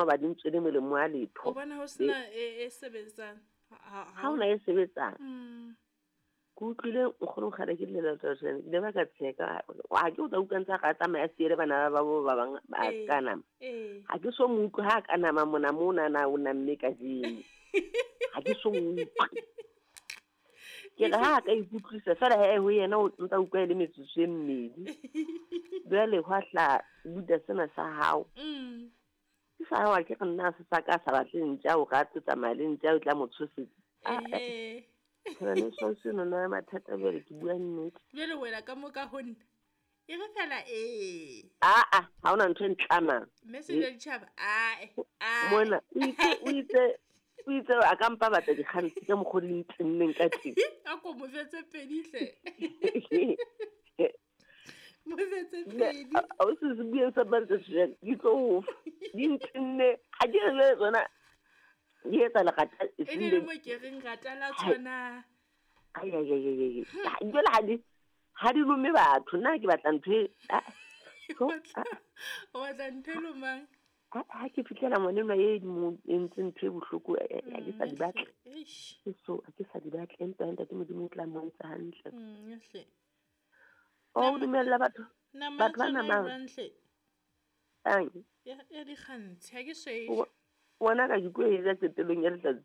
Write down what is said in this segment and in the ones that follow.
Hoba di ntswele molemo wa letho. O bona ho sena e sebetsang. Ha hona e sebetsang. Ke utlwile nkgono kgale ke llela ke ile ba ka tsheka. Ha ke o tla utlwa ntse a re a tsamaya a siele bana ba bo ba bang ba ka nama. Ha ke so mo utlwe ha ka nama mona mona na o namme kajeno. Ha ke so mo utlwe. Ke re ha a ka ikutlwisa fela he ho yena o ntsa utlwa e le metsotso e mmedi. Jwale hwa hla buta sena sa hao. Ke sa hao ke re nna se sa ka sa batle ntja o rate tsamaya le ntja o tla mo tshosetsa. Ngwaneso seno na mathata jwale ke bua nnete. Jwale wena ka mo ka ho nna. E re fela ee. Aa, ha hona ntho e ntlamang. Mme se ditjhaba ae. Mona o itse a ka mpa batla dikgantsi ka mokgwa di ntenneng ka teng. A ko mo fetse pedi hle. Mo fetse pedi. A o se se bueng sa bantse jwale di tlo o fa. Di ntenne ha di re tsona di etsa lerata e ne le mo ke reng rata la tshwana. Ai ai ai ai. Jwale ha di lome batho nna ke batla ntho e o batla ntho e lomang. Ha ke fihlela ngwanenwa e mo entse ntho e bohloko ha ke sa di batle. So ha ke sa di batle empa ntate Modimo o tla mmontsha hantle. O dumella batho batho ba namang. Ang. Ya dikgantshi ha ke swele. Wona ka ke tlo e ja qetellong ya letsatsi.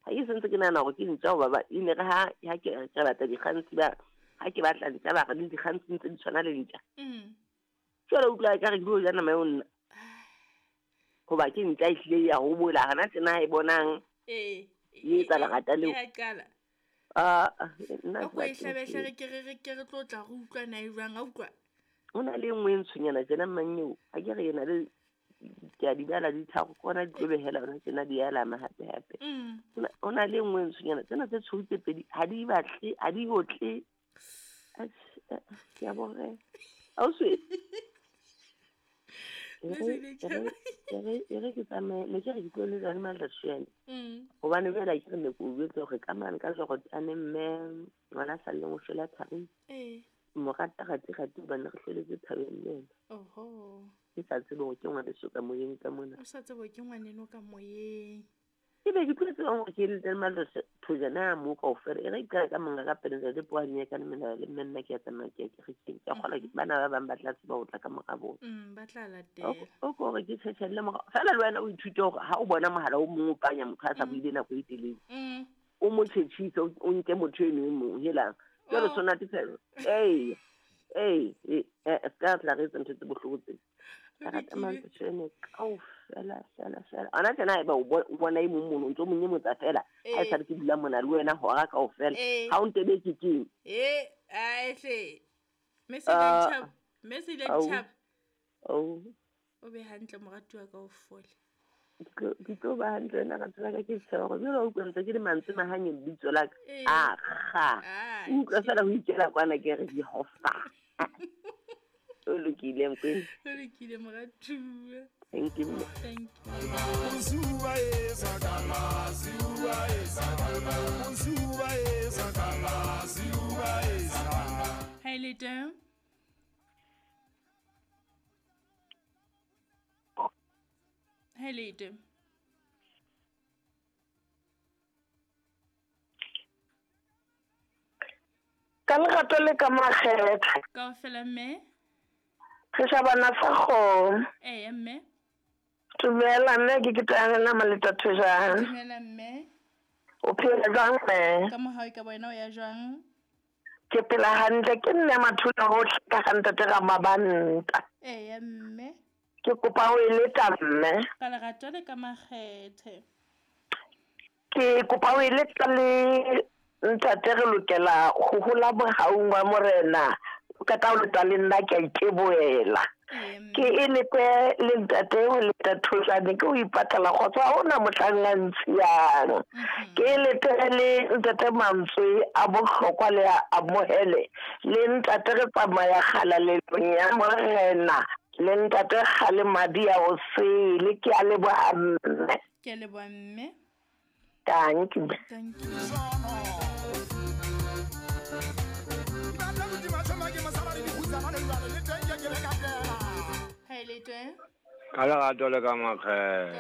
Ha ke sentse ke nahana hore ke ntja hoba ba e ne re ha ke batla dikgantshi ba ha ke batla ntja ba re le dikgantshi ntse di tshwana le ntja. Jwale utlwa ka re ke tlo ja nama eo nna. Hoba ke ntja e hlile ya hobola hana tjena e bonang. E etsa lerata leo. Ya qala. Nna ke e hlabehle ke re ke re tlo tla re utlwa na e jwang a utlwa. O na le nngwe e ntshonyana tjena mang eo. Ha ke re ena le ke a di bala di tharo kona di tlo behela hona tjena di alama hape hape. O na le nngwe e ntshonyana tsena tse tshweu tse pedi ha di batle ha di otle. Ke a bore. Ausi. E re ke tsamaye ne ke re ke tlo le jane Maldatshwane. Hobane jwale ha ke re ne ke o jwetse hore ka mane ka Jorotane mme ngwana sa lleng o shwela thabeng. Mo rata rate rate hobane re hloletse thabeng le yena. Oho. Ke sa tsebe hore ke ngwaneso ka moyeng ka mona. O sa tsebe hore ke ngwaneno ka moyeng. Ke be ke tlo tseba hore ke le Maldatshwane mo kaofela. E re ke ka monga ka pele ntate Poane ka mena le mme nna ke a tsamaya ke ya kerekeng. Ke a kgolwa bana ba bang ba tla tseba ho tla ka mora bona. Ba tla latela. O ko hore ke tjhetjhelle mora. Feela le wena o ithute hore ha o bona mohala o mong o panya motho a sa buile nako e telele. O mo tjhetjhise o nke motho eno e mong helang. Jwale sona ke fela. Ee. Ska tla re etsa ntho tse bohloko tse. Ka rata Maldatshwane kaofela fela fela. Ana tjena haeba o bona e mong mono o ntso mo nyemotsa fela. Ha e sale ke dula mona le wena hora kaofela. Ha o ntebetse keng? Ae hle. Mme se ile tjhaba. O be hantle moratuwa ka o fole. Ke tlo ba hantle nna ka tsela ka ke tshaba hore jwale o utlwa ntse ke le mantswe mahanye lebitso la ka. Akga. Utlwa fela ho ikela kwana ke re Jehova. O lokile Mokwena. O lokile moratuwa. Thank you. Thank you. Hi Lito. Hi Lito. Ka lerato le ka makgetha. Kaofela mme. Re shabana sa kgomo. Ee mme. Dumela mme ke ketane nama le Thathojane. Dumela mme. O phela jwang mme? Ka mohau ka wena o ya jwang? Ke phela hantle ke nne mathula hohle ka ga ntate ga mabanta. Ee mme. Ke kopa ho eletsa mme. Ka lerato le ka makgethe. Ke kopa ho eletsa le ntate re lokela ho hola mohaung wa morena. O ka tla o leta le nna ke a iteboela. Ke elete le ntate ho le Thathojane ke o ipatlela kgotso ha hona mohlang a ntshiyang. Ke elete le ntate mantswe a bohlokwa le a amohele le ntate re tsamaya kgalalelong ya morena le ntate kgale madi a o sele. Ke a leboha mme. Ke a leboha mme. Thank you. Thank you. Hi Lito. Ka lerato le ka makgethe.